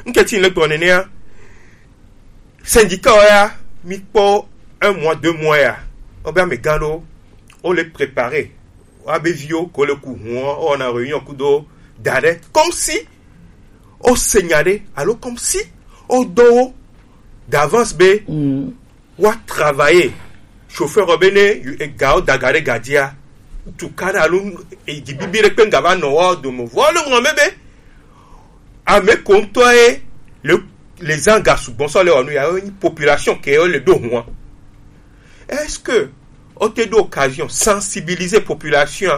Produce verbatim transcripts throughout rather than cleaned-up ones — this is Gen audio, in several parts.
Nketi le gblɔ nenea, syndicat ya, mi kpɔ un mois, deux mois ya, o be amegã ɖo, o le préparer, wa be viwo ko le ku hun, o na réunion kudo da ɖe, comme si o se nya ɖe, alo comme si o do wo d'avance be wa travailler. Chauffeur be ne ega o daga ɖe ga dia, tu ka ɖe alo egi bibi ɖe kpe nga va nɔ wa o dome. Vɔ le ŋlɔ me be ame ko ŋutɔ ye le, les gens ga sugbɔ sɔ le wɔ nu ya, population ke le ɖo hua. Est-ce que o te ɖo occasion sensibiliser population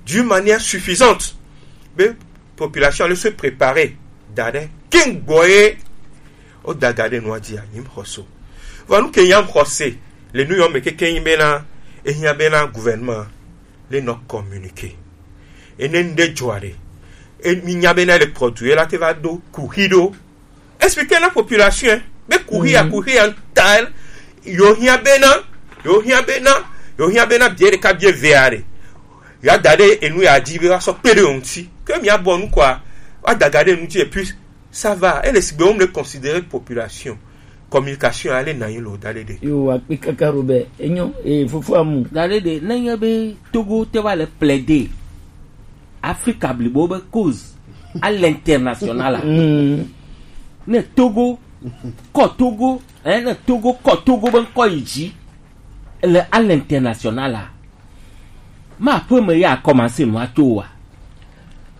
d'une manière suffisante? Be population le se préparer da ɖe king boye o daga ɖe nua dia, nyim xɔso. Vɔ nu ke nyam xɔse le nu yɔ me keke nyi bena, ehia bena gouvernement le nɔ communiquer. Ene nde dzɔa ɖe, e mi nya bena le produit la te va do kuxi ɖo. Expliquer na population be kuxi ya, kuxi ya nta, yo hia bena, yo hia bena, yo hia bena bie ɖeka bie ve are. Ya da ɖe enu ya dzi be wa sɔ kpe ɖe o ŋuti. Ke mi abɔ nu kɔa, wa daga ɖe nu dzi et puis ça va. Et le sigbe wo me considérer population. Communication ale na yin lo da ɖe ɖe. Yo, wa kpe kaka ro be. Enyo, e fofo amu. Da ɖe ɖe, ne nye be Togo te va le plaider Afrika blibo be cause à l'international. Ne Togo kɔ Togo, hein, ne Togo kɔ Togo be ŋkɔ yi dzi le à l'international la, ma ƒe me ya commencer nua to wa.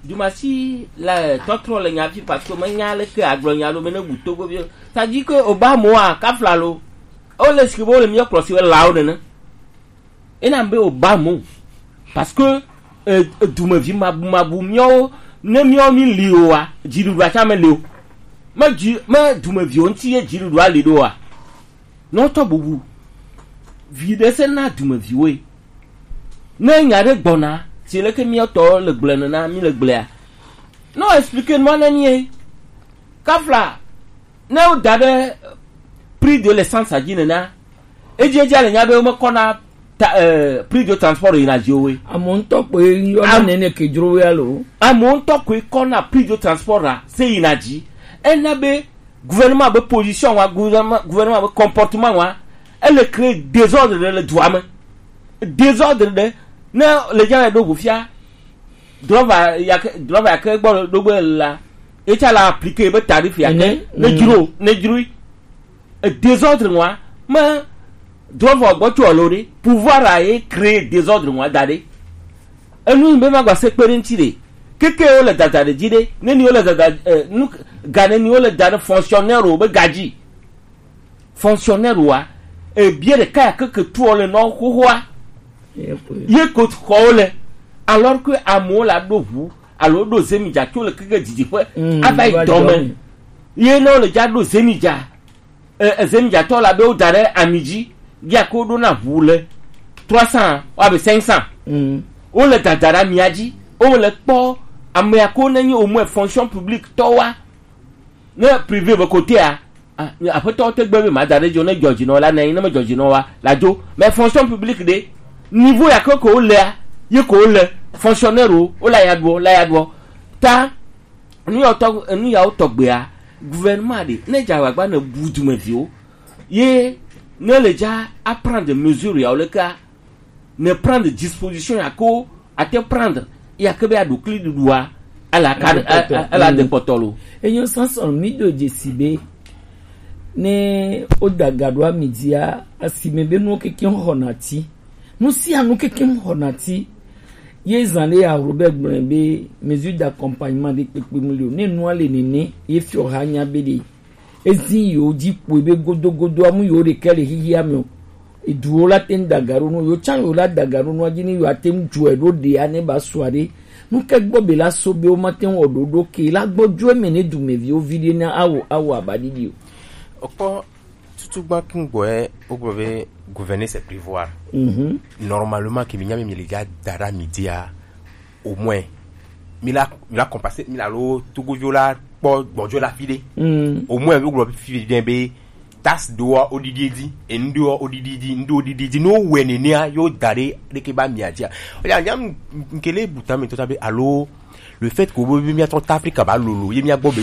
Dumasi la tɔtrɔ le nya fi parce que me nya le ke agblɔ nya lo me ne bu Togo bi. Ça dit que Obama wa kafla lo. O le si bo le mi kplɔ si we la o nene. Ena be o ba mo. Parce que, euh, dumevi mabu mabu miawo, ne miawo mi li oa, dziɖuɖua tsã me li o. Me dzi me dumeviwo ŋuti ye dziɖuɖua li ɖoa. Ne wotɔ bubu vi ɖe se na dumeviwoe. Ne nya ɖe gbɔna, si leke miatɔ le gblẽ nena mi le gblẽa. Ne wo expliquer nua ne mi ye. Kafla, ne woda ɖe prix de l'essence dzi nena, edziedzia le nya be womekɔna ta, eh, prix de transport yina dzi woe. Amewo ŋutɔ koe yɔna nene ke dzro woe alo? Amewo ŋutɔ koe kɔna prix de transport la se yina dzi. Ena be gouvernement be position wa, gouvernement, gouvernement be comportement wa, ele créer désordre ɖe le dua me. Désordre ɖe, ne le dza ɖo ʋu fia, drɔva yake, drɔva yake gbɔ ɖo gbe la, etsa la appliquer be tarif yake, ne dzro, ne dzro. Désordre wa, me drɔva gbɔ tso alo ɖe, pouvoir a ye créer désordre wa da ɖe. Enu yi be ma gba se kpe ɖe ŋuti ɖe. Keke wo le dada ɖe dzi ɖe, ne ni wo le dada, eh, nu, ga ne ni wo le da ɖe fonctionnaire wo be ga dzi. Fonctionnaire wa, ebie ɖeka ya keke tuɔ le nɔ xoxoa. Ye ko xɔwo le. Alors que amewo la ɖo ʋu alo ɖo zemi dza tso le keke didiƒe, ava yi dɔme. Ye ne wo le dza ɖo zemi dza, eh, zemi dza tɔ la be wo da ɖe ami dzi, ya ko ɖo na ʋu le trois cents, wa be cinq cents. Wo le dada ɖe amia dzi, wo le kpɔ amea ko ne nyi au moins fonction publique tɔ wa. Ne privé be kotea, ah, aƒetɔ te gbe be ma da ɖe dzo, ne dzɔdzinɔ la ne, ne me dzɔdzinɔ wa la dzo. Mais fonction publique ɖe, niveau ya ke ko lea, ye ko le fonctionnaire wo, wo la ya ɖuɔ, la ya ɖuɔ. Ta, nu ya tɔ, nu ya wo tɔgbea, gouvernement ɖe, ne dza agbagba ne bu dumeviwo, ye ne le dza a prendre mesure ya wo le ka, ne prendre disposition ya ko ate prendre ya ke be aɖukli ɖuɖua, ala ka, ala de kpɔtɔ lo. Enyo sansan mi do dzesi be ne o daga ɖo ami dzia, asime be nuwo keke xɔna ti. Nu sia nu keke xɔna ti. Ye zan ɖe ya Robert gblɔe be mesure d'accompagnement ɖe kpekpe mu le o. Ne nua le nene, ye fiɔ ha nya be ɖe. Ezi yewo dzi kpoe be godogodo amu yewo ɖekɛ le xixia me o. Eduwo la te ŋu daga ɖo nu, yewo tsã yewo la daga ɖo nua dzi ni yewo ate ŋu dzɔe ɖo ɖea ne ba sua ɖe. Nu ke gbɔ be la so be wo ma te ŋu wɔ ɖoɖo ke la gbɔ dzo eme ne dumeviwo vi ɖe na awo awo abaɖiɖi o. Okpɔ tutu gba kungboe wogblɔ be gouverner c'est prévoir. Mhm. Normalement ke mi nya mi le ga da ɖe ami dzia, au moins mi la, mi la compenser, mi la lo Togoviwo la kpɔ gbɔdzɔ la fi ɖe. Mm. Au moins wo gblɔ fi ɖe be taxe ɖoa wo ɖiɖi edzi, enu ɖoa wo ɖiɖi edzi, enu ɖo wo ɖiɖi edzi. Ne wo wɔe nenea, yo da ɖe ɖeke ba mia dzia. Oya nya nkele buta mi tota be alo le fait que wo be mia tɔ ta Afrika ba lolo ye mia gbɔ be